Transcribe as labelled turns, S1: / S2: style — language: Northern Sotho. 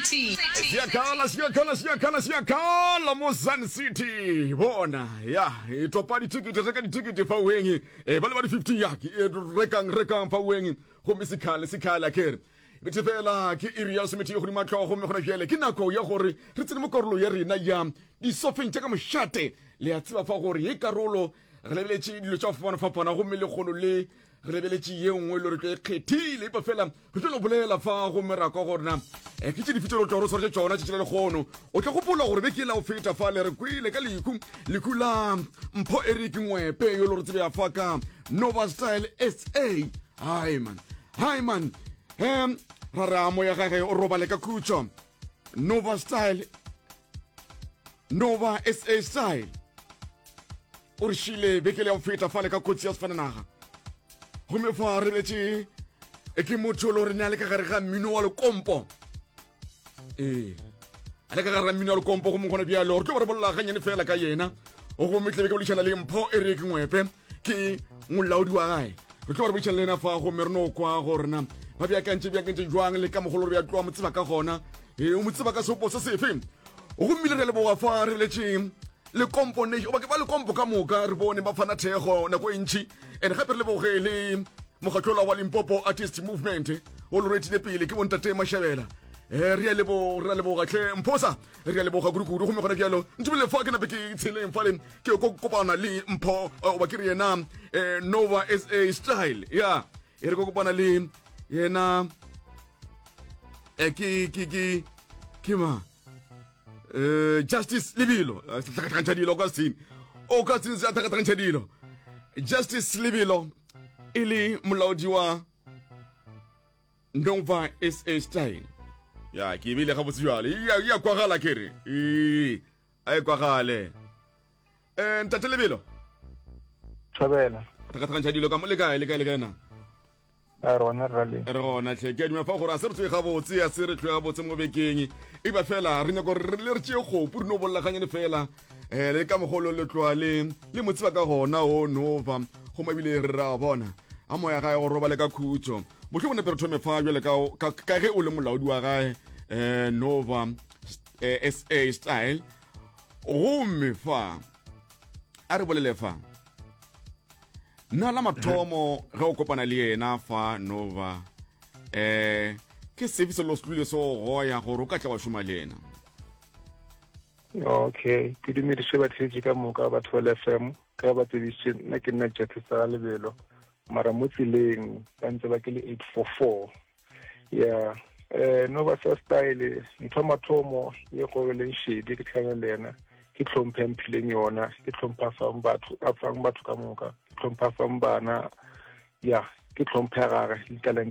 S1: City.
S2: Siyakhala siyakhala siyakhala siyakhala mo Sun City bona ya e topa ditikete reka ditikete fa weng e ba le ba di 50 ya ke e rekang rekang fa weng gomme sekhale sekhale a kere bethe fela ke iri ya lesometee godimo tlogo gomme gona bjale ke nako ya gore re tsene mo karolo ya rena ya disofeng tša ka mošate le a tseba fa gore ye karolo re lebeletše dilo tša go fapana-fapana gomme lekgono le re lebeletše ye nngwe le re tlo e kgethile epa fela re tlo no bolela fa gomme ra kwa gore na eh, ke tše dife tše re tlo re tshwaretše tšona tšatši la lekgono o tla gopola gore beke la go feta fa le re kwele ka lehu lehu la mpho eric ngwepe yo le re tsebea fa ka nova style sa hai man hai man um ra re a moya gage o robale ka khutšo nova style nova sa style o re šile beke le ya go feta fale ka kotsi ya sefananaga gomme fa re letše e ke motho le gore ne a le ka gare ga mmino wa lekompo ee a le ka gare ga mmino wa lekompo gomme gona bjalo re tlo ba re bolela ganyane fela ka yena gomme tlebe ke boledišana le mpho e re ke ngwepe ke molaodi wa gae re tlo ba re boledišana le yena fa gomme re no kwa gorena ba beakantše beakantše jwang le ka mogolo re ya tloa mo tseba ka gona ee o mo tseba ka seopo se sefe gomme le re leboga fa re letšeng lekompo ne oba ke ba lekompo ka moka re bone ba fana thekgo nako e ntši and gape re leboge le mokgatlola wa limpopo artist movement o lo retile pele ke bontate mashabela eh re a lebo re a leboga tlhe mphosa re a leboga kudu-kudu gomme gona bjalo ntumele fa ke nape ke tsheleng fale ke ko kopana le mpho eh, oba ke re yena eh, nova sa style ya e re ko kopana le yena eh, ke ke ke ke ma eh justice lebilo eh, tlhakatlhakantšha dilo ka sene o ka sene se a tlhakatlhakantšha dilo justice lebilo e le molaodi wa nova sa style ya ke ebile gabotse jale ya kwagala ke re ee a e kwagale um ntate lebelo
S3: thobela
S2: tlhakatlhakantšha dilo ka mo le kae le kae le kae na
S3: A re gona rra le.
S2: Re gona tlhe. Ke a duma fa gore a se re tsoe gabotse, a se re tlhoe gabotse mo bekeng. E ba fela re nyaka gore re le re tšee kgopu re no bolelaganyane fela. Eh le ka mogolo le tloa le le mo tseba ka gona o nova. Go mabile re ra bona. A moya gae go robale ka khutšo. Mohlomong nepe re thome fa jwale ka ka ka ge o le molaodi wa gae eh Nova eh, SA style. Gomme fa a re bolele fa. Nna la mathomo ge o kopana le yena fa Nova eh ke sefe se lo se tlile se o goya gore o ka tla wa šoma le yena?
S3: Okay, ke dumediše batheetši ka moka ba Thobela FM ka ba tsebišitše nna ke nna Justice Lebelo mara mo tseleng ba ntse ba ke le 844 ya eh no ba sa style ntho mathomo ye go leng shedi ke tlhana le yena ke tlhomphe mphileng yona ke tlhompha fang batho a fang batho ka moka ke tlhompha fang bana ya ke tlhomphe gage le talente.